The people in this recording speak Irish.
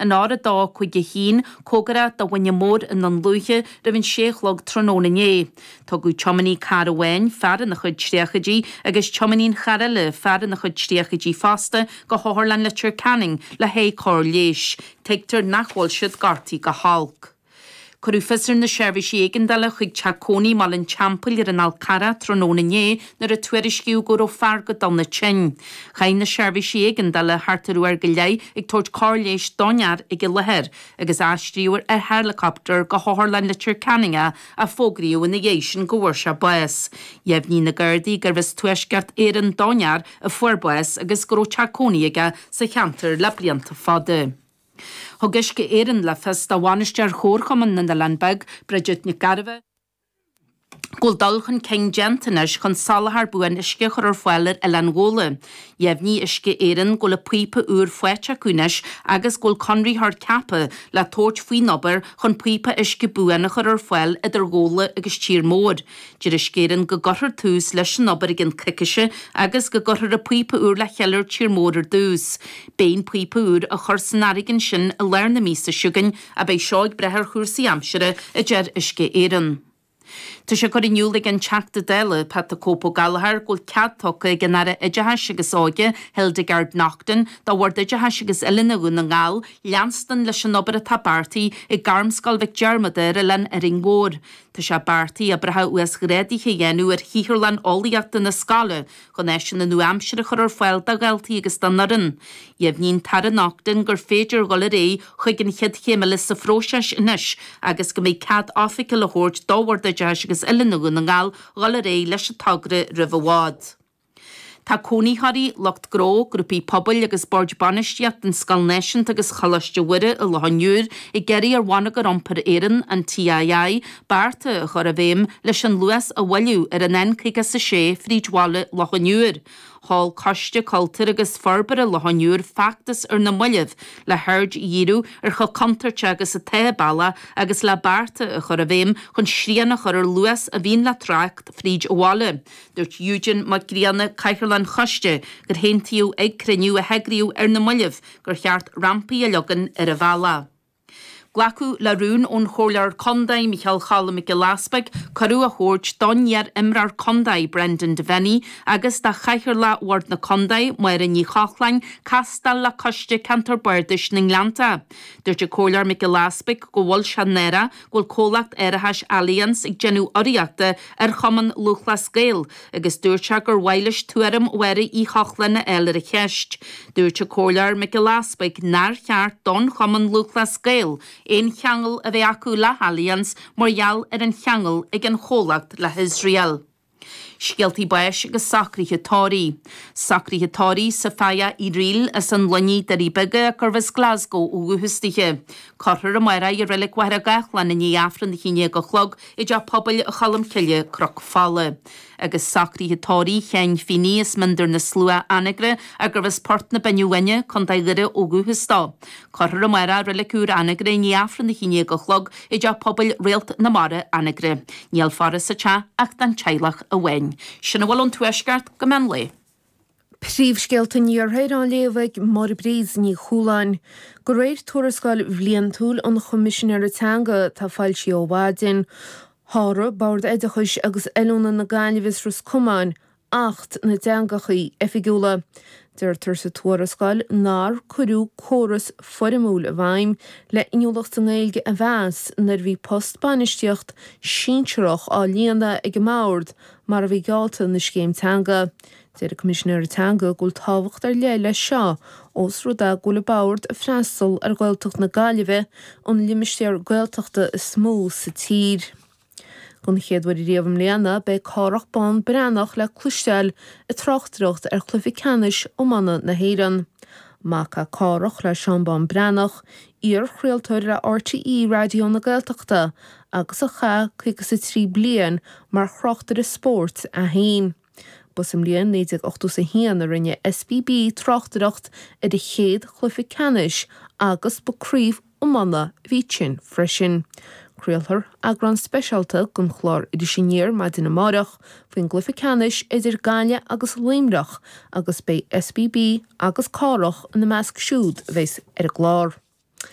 an R251, cóngarach do Mhuine Mór i nDún Lúiche, roimh an sé a chlog tráthnóna inné. Tugadh tiománaí cairr amháin, fear ina chuid tríochaidí, agus tiománaí an chairr eile, fear ina chuid tríochaidí fosta, go hOtharlann Leitir Ceanainn le haghaidh cóir leighis. Tuigtear nach bhfuil siad gortaithe go holc. Cuireadh fios ar na seirbhísí éigeandála chuig teach cónaí i mBaile an Teampaill ar an Fhál Carrach tráthnóna inné nuair a tuairiscíodh go raibh fear go dona tinn. Chaith na seirbhísí éigeandála thart ar uair go leith ag tabhairt cóir leighis don fhear ag an láthair agus aistríodh ar heileacaptar go hOtharlann Leitir Ceanainn é ach fógraíodh ina dhiaidh sin go bhfuair sé bás. Dheimhnigh na Gardaí gurbh as Tuaisceart Éireann don fhear a fuair bás agus go raibh teach cónaí aige sa cheantar le blianta fada. Thug Uisce Éireann le fios do bhainisteoir Chomharchumann na nOileán Beag, Bridget Nic Gairbheith, go bhfuil dul chun cinn déanta anois chun soláthar buan uisce a chur ar fáil ar Oileán Ghabhla. Dheimhnigh Uisce Éireann go bhfuil an píopa úr faighte acu anois agus go bhfuil conraitheoir ceaptha le tabhairt faoin obair chun píopa uisce buan a chur ar fáil idir Ghabhla agus Tír Mór. Deir Uisce Éireann go gcuirfear tús leis an obair i gcionn coicíse agus go gcuirfear an píopa úr le chéile ar Tír Mór ar dtús. Beidh an píopa úr á chur san fharraige ansin i lár na míosa seo chugainn ach beidh seo ag brath ar chúrsaí aimsire, a deir Uisce Éireann. Tá sé curtha in iúl ag an Teachta Dála, Pat 'The Cope' Ó Gallchóir, go bhfuil cead tugtha ag an Aire Oideachais agus Óige, Hildegarde Naughton, do Bhord Oideachais agus Oiliúna Dhún na nGall leanstan leis an obair atá beartaithe ag Gairmscoil Mhic Diarmada ar Oileán Árainn Mhór. Tá sé beartaithe oibreacha uasghrádaithe a dhéanamh ar shaotharlann eolaíochta na scoile chun áiseanna nua-aimseartha a chur ar fáil do dhaltaí agus don fhoireann. Dheimhnigh an tAire Naughton gur féidir dhul ar aghaidh chuig an chéad chéim eile sa phróiseas anois agus go mbeidh cead oifigiúil á thabhairt do Bhord Oideachais agus Oiliúna Dhún na nGall dhul ar aghaidh leis an togra roimh i bhfad. Tá cónaitheoirí, lucht gnó, grúpaí pobail agus boird bainistíochta an Scoil Náisiúnta agus Choláiste Mhuire i Loch an Iúir ag iarraidh ar Bhonneagar Iompair Éireann, an TII, bearta a chur i bhfeidhm leis an luas a mhoilliú ar an N56 fríd bhaile Loch an Iúir. Sheol Coiste Cultúir agus Forbartha Loch an Iúir feachtas ar na mallaibh le haird a dhíriú ar chomh contúirteach agus atá an bealach agus le bearta a chur i bhfeidhm chun srian a chur ar luas a bhíonn le trácht fríd an bhaile. Dúirt Eugene Mac Grianna, Cathaoirleach an Choiste, gur haontaíodh ag cruinniú a heagraíodh ar na mallaibh gur cheart rampaí a leagan ar an bhealach. Glacadh le rún ón Chomhairleoir Contae, Micheál Choilm Mac Giolla Easpaig, cuireadh a thabhairt don iar-imreoir contae, Brendan Devenney, agus do Chathaoirleach Bhord na Contae, Máire Ní Chochláin, castáil le Coiste Ceantar Bardais na nGleannta. Dúirt an Comhairleoir Mac Giolla Easpaig go bhfuil sé náireach go bhfuil comhlacht árachais Allianz ag déanamh urraíochta ar Chumann Lúthchleas Gael agus dúirt sé gur mhaith leis tuairim Mháire Uí Chochláin a fháil ar an cheist. Dúirt an Comhairleoir Mac Giolla Easpaig nár cheart don Chumann Lúthchleas Gael aon cheangal a bheith acu le hAllianz mar gheall ar an cheangal ag an chomhlacht le hIosrael. Scéaltaí báis agus socruithe tórraimh. Socruithe tórraimh Sophia Uí Fhrighil as an Luinnigh, Doirí Beaga, gurbh as Glasgow ó dhúchas dithe. Cuirfear amárach í i Reilig Mhachaire Gathlán i ndiaidh Aifreann a 11 a chlog i dTeach Pobail Cholm Cille, Cnoc Fola. Agus socruithe tórraimh Sheáin Feeney as Miondar na Slua, Anagaire, gurbh as Port na Binne Báine, Contae Dhoire ó dhúchas dó. Cuirfear amárach i Reilig Úr Anagaire i ndiaidh Aifreann a 11 a chlog i dTeach Pobail Réalt na Mara, Anagaire. Níl faire sa teach ach don teaghlach amháin. Sin a bhfuil ón Tuaisceart go meán lae. Príomhscéalta an Iarthair á léamh ag Máire Bríd Ní Chualáin. De réir tuarascáil bhliantúil an Choimisinéara Teanga atá foilsithe ó mhaidin, sháraigh Bord Oideachais agus Oiliúna na Gaillimhe is Ros Comáin Acht na dTeangachaí Oifigiúla. Deirtear sa tuarascáil nár cuireadh córas foirmiúil i bhfeidhm le inniúlacht sa nGaeilge a mheas nuair a bhí post bainistíocht sinsearach á líonadh ag an mBord mar a bhí geallta ina scéim teanga. Deir an Coimisinéir Teanga go bhfuil tábhacht ar leith leis seo ós rud é go bhfuil an Bord ag freastal ar Ghaeltacht na Gaillimhe, an limistéar Gaeltachta is mó sa tír. Don chéad uair riamh i mbliana, beidh Cárthach Bán Breathnach le cloisteáil ag tráchtaireacht ar chluiche ceannais iomána na hÉireann. Mac é Cárthach le Seán Bán Breathnach, iar-chraoltóir le RTÉ Raidió na Gaeltachta agus a chaith 53 bliain mar thráchtaire spóirt é féin. Ba sa mbliain 1981 a rinne SBB tráchtaireacht ar a chéad chluiche ceannais agus ba craobh iomána a bhí ansin freisin. Craolfar eagrán speisialta den chlár Iris Aniar maidin amárach faoin gcluiche ceannais idir Gaillimh agus Luimneach agus beidh SBB agus Cárthach ina measc siúd a bheas ar an gclár.